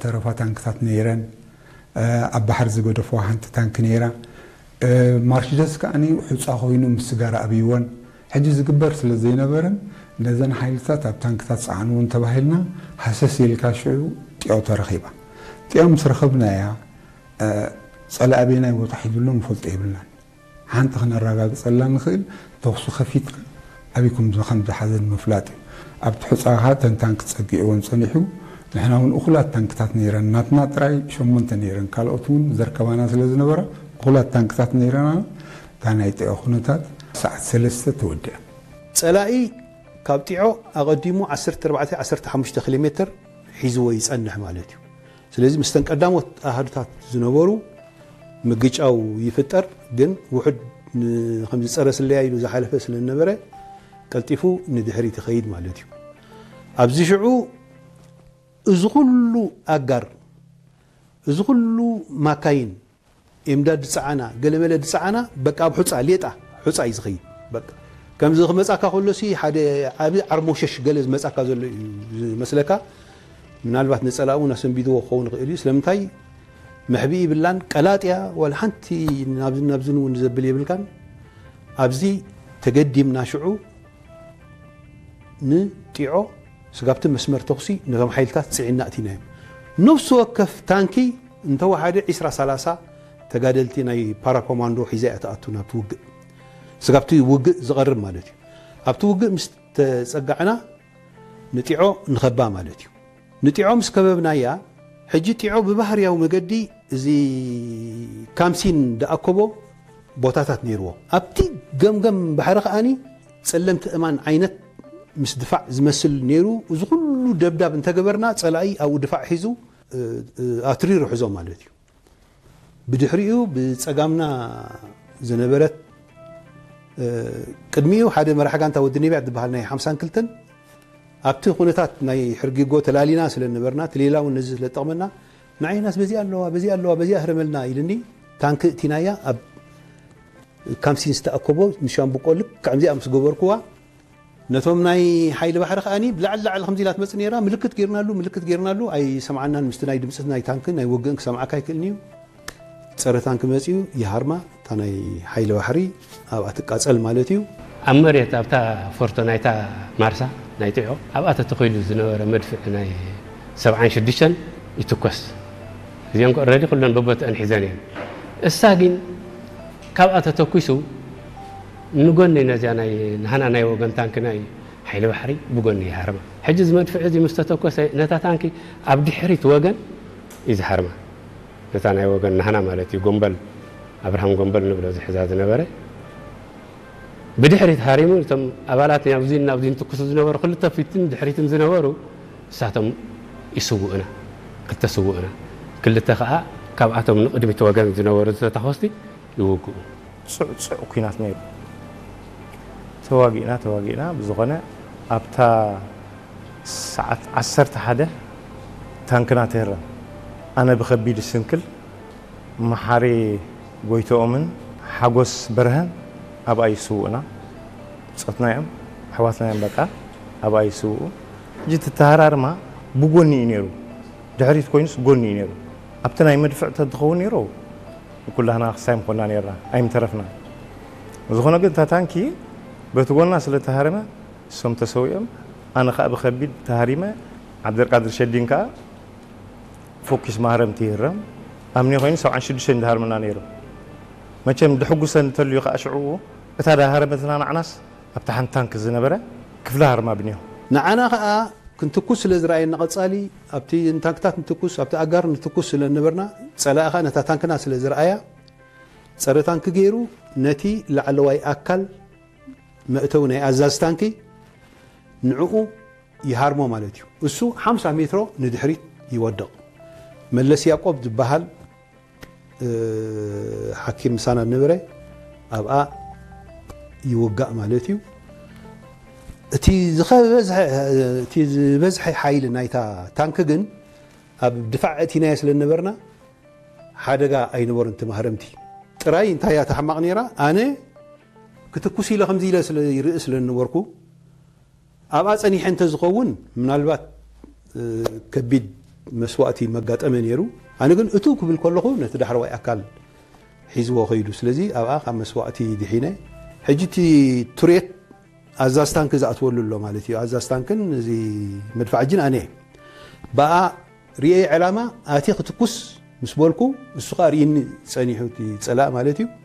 ተረፋ ታንክታት ነይረን። ኣብ ባሕሪ ዝገደፍዋ ሓንቲ ታንክ ነይራ። ማርሽደስ ከዓኒ ሑፃ ኮይኑ ምስ ስጋራ ኣብይወን ሕጂ ዝግበር ስለ ዘይነበረን ነዘን ሓይልታት ኣብ ታንክታት ፀዓንውን ተባሂልና ሃሰስ ኢልካ ሽዑ ጢዖ ተረኺባ። ጢዖ ምስ ረኸብናያ ፀላኢ ኣበየናይ ቦታ ሒዙሎ ንፈልጦ የብልናን። ሓንቲ ክነረጋግፀላ ንኽእል ተኹሲ ከፊትካ ኣበይ ከም ከም ዝሓዘን ምፍላጥ እዩ። ኣብቲ ሑፃኻ ተን ታንክ ፀጊዕዎን ፀኒሑ ንሕና እውን እኹላት ታንክታት ነይረን ናትና ጥራይ ሸሞንተ ነይረን ካልኦት እውን ዘርከባና ስለ ዝነበራ እኹላት ታንክታት ነይረና። እታ ናይ ጢዖ ኩነታት ሰዓት ሰለስተ ተወዲኣ። ፀላኢ ካብ ጢዖ ኣቐዲሙ ዓሰርተ ኣርባዕተ ዓሰርተ ሓሙሽተ ኪሎ ሜትር ሒዝዎ ይፀንሕ ማለት እዩ። ስለዚ ምስተን ቀዳሞት ኣሃዱታት ዝነበሩ ምግጫው ይፍጠር፣ ግን ውሑድ ን- ከምዚ ፀረ ስለያ ኢሉ ዝሓለፈ ስለ ዝነበረ ቀልጢፉ ንድሕሪት ይኸይድ ማለት እዩ። ኣብዚ ሽዑ እዚ ኩሉ ኣጋር፣ እዚ ኩሉ ማካይን ኤምዳድ ዝፀዓና፣ ገለመለ ዝፀዓና በቃ ኣብ ሑፃ ሌጣ ሑፃ እዩ ዝኸይድ። በቃ ከምዚ ክመፃካ ከሎሲ ሓደ ዓቢ ዓርሞሸሽ ገለ ዝመፃካ ዘሎ እዩ ዝመስለካ። ምናልባት ንፀላእ እውን ኣሰንቢድዎ ክኸውን ይኽእል እዩ። ስለምንታይ መሕብኢ ይብላን ቀላጥያ ዋላ ሓንቲ ናብዝን ናብዝን እውን ዘብል የብልካን። ኣብዚ ተገዲምና ሽዑ ንጢዖ ስጋብቲ መስመር ተኹሲ ነቶም ሓይልታት ፅዒና እቲናዮም። ነፍሲ ወከፍ ታንኪ እንተወሓደ ዒስራ ሰላሳ ተጋደልቲ ናይ ፓራኮማንዶ ሒዛ እያ ትኣቱ ናብቲ ውግእ። ስጋብቲ ውግእ ዝቐርብ ማለት እዩ። ኣብቲ ውግእ ምስ ተፀጋዕና ንጢዖ ንኸባ ማለት እዩ። ንጢዖ ምስ ከበብናያ ሕጂ ጢዖ ብባህርያዊ መገዲ እዚ ካምሲን ዝኣከቦ ቦታታት ነይርዎ። ኣብቲ ገምገም ባሕሪ ከዓኒ ጸለምቲ እማን ዓይነት ምስ ድፋዕ ዝመስል ነይሩ። እዚ ኩሉ ደብዳብ እንተገበርና ጸላኢ ኣብኡ ድፋዕ ሒዙ ኣትሪሩ ሕዞ ማለት እዩ። ብድሕሪኡ ብጸጋምና ዝነበረት ቅድሚኡ ሓደ መራሕ ጋንታ ወዲ ነቢያት ዝበሃል ናይ ሓምሳን ክልተን ኣብቲ ኩነታት ናይ ሕርጊጎ ተላሊና ስለ ነበርና እቲ ሌላ እውን ነዚ ስለ ጠቕመና ንዓይናስ በዚኣ ኣለዋ በዚኣ ኣለዋ በዚኣ ህረመልና ኢልኒ። ታንክ እቲናያ ኣብ ካምሲን ዝተኣከቦ ንሻምብቆ ልክዕ ከምዚኣ ምስ ገበርኩዋ ነቶም ናይ ሓይሊ ባሕሪ ከዓኒ ብላዕሊ ላዕሊ ከምዚ ኢላ ትመፅእ ነይራ። ምልክት ጌርናሉ ምልክት ጌርናሉ ኣይሰምዓናን። ምስቲ ናይ ድምፂ ናይ ታንክን ናይ ውግእን ክሰምዓካ ኣይክእልን እዩ። ፀረ ታንክ መፂኡ ይሃርማ እታ ናይ ሓይሊ ባሕሪ ኣብኣ ትቃፀል ማለት እዩ። ኣብ መሬት ኣብታ ፎርቶ ናይታ ማርሳ ናይ ጢዖ ኣብኣ ተተኺሉ ዝነበረ መድፍዕ ናይ ሰብዓን ሽዱሽተን ይትኮስ። እዚአን ኦረዲ ኩለን በቦትአን ሒዘን እየን። እሳ ግን ካብኣ ተተኩሱ ንጎኒ ነዚያ ናይ ናህና ናይ ወገን ታንክ ናይ ሓይሊ ባሕሪ ብጎኒ ይሃርማ። ሕጂ እዚ መድፍዕ እዚ ምስ ተተኮሰ ነታ ታንኪ ኣብ ድሕሪት ወገን እዩ ዝሃርማ። ነታ ናይ ወገን ናህና ማለት እዩ ጎንበል ኣብርሃም ጎንበል ንብሎ ዝሕዛ ዝነበረ ብድሕሪት ሃሪሙ እቶም ኣባላት ናብዚን ናብዚን ትኩሱ ዝነበሩ ክልተ ፊትን ድሕሪትን ዝነበሩ እሳቶም ይስውእና ክልተ ስውእና ክልተ ከዓ ካብኣቶም ንቅድሚት ወገን ዝነበሩ ዝተታኮስቲ ይውግኡ። ጽዑ ጽዑ ኩናት ነይሩ። ተዋጊእና ተዋጊእና ብዝኾነ ኣብታ ሰዓት ዓሰርተ ሓደ ታንክና ትህረም። ኣነ ብኸቢድ ስንክል መሓሪ ጎይትኦምን ሓጎስ በርሀን ኣብኣ ይስውእና። ብጾትና እዮም ኣሕዋትና እዮም በቃ ኣብኣ ይስውኡ። ሕጂ እቲ ተሃራርማ ብጎኒ እዩ ነይሩ። ድሕሪት ኮይኑስ ጎኒ እዩ ነይሩ። ኣብቲ ናይ መድፍዕ ተትኸውን ነይሩ ንኩላህና ክሳይ ምኾንና ነይርና ኣይምተረፍና። ዝኾነ ግን እታ ታንኪ በቲ ጎና ስለ ተሃረመ እሶም ተሰዊኦም ኣነ ከዓ ብከቢድ ተሃሪመ። ዓብደልቃድር ሸዲን ከዓ ፎኪስ ማህረምቲ ይህረም ኣምኒ ኮይኑ ሰብዓን ሽዱሽተን ዝሃርመና ነይሩ። መቸም ድሕጉሰ እንተልዩ ከዓ ሽዕኡ እታ ዳሃረመትና ንዓናስ ኣብታ ሓንቲ ታንክ ዝነበረ ክፍሊ ሃርማ ብንዮ። ንዓና ከዓ ክንትኩስ ስለ ዝረኣየና ቀፃሊ ኣብቲ ንታንክታት ንትኩስ ኣብቲ ኣጋር ንትኩስ ስለ ነበርና ፀላኢ ከዓ ነታ ታንክና ስለ ዝረኣያ ፀረ ታንክ ገይሩ ነቲ ላዕለዋይ ኣካል መእተዊ ናይ ኣዛዚ ታንኪ ንዕኡ ይሃርሞ ማለት እዩ። እሱ ሓምሳ ሜትሮ ንድሕሪት ይወድቕ። መለስ ያቆብ ዝበሃል ሓኪም ምሳና ዝነበረ ኣብኣ ይውጋእ ማለት እዩ። እቲ ዝበዝሐ ሓይሊ ናይታ ታንክ ግን ኣብ ድፋዕ እቲናዮ ስለ ዝነበርና ሓደጋ ኣይነበሮን። እቲ ማህረምቲ ጥራይ እንታይ እያ ተሕማቕ ነይራ፣ ኣነ ክትኩስ ኢለ ከምዚ ኢለ ስለ ይርኢ ስለ ዝነበርኩ ኣብኣ ፀኒሐ እንተዝኸውን ምናልባት ከቢድ መስዋእቲ መጋጠመ ነይሩ። ኣነ ግን እቱ ክብል ከለኹ ነቲ ዳሕረዋይ ኣካል ሒዝዎ ከይዱ። ስለዚ ኣብኣ ካብ መስዋእቲ ድሒነ። ሕጂ እቲ ትርየት ኣዛዝ ታንክ ዝኣትወሉ ኣሎ ማለት እዩ። ኣዛዝ ታንክን እዚ መድፋዕጅን ኣነ እየ። ብኣ ርእየ ዕላማ ኣትየ ክትኩስ ምስ በልኩ፣ እሱ ኸኣ ርእይኒ ጸኒሑ እቲ ጸላእ ማለት እዩ።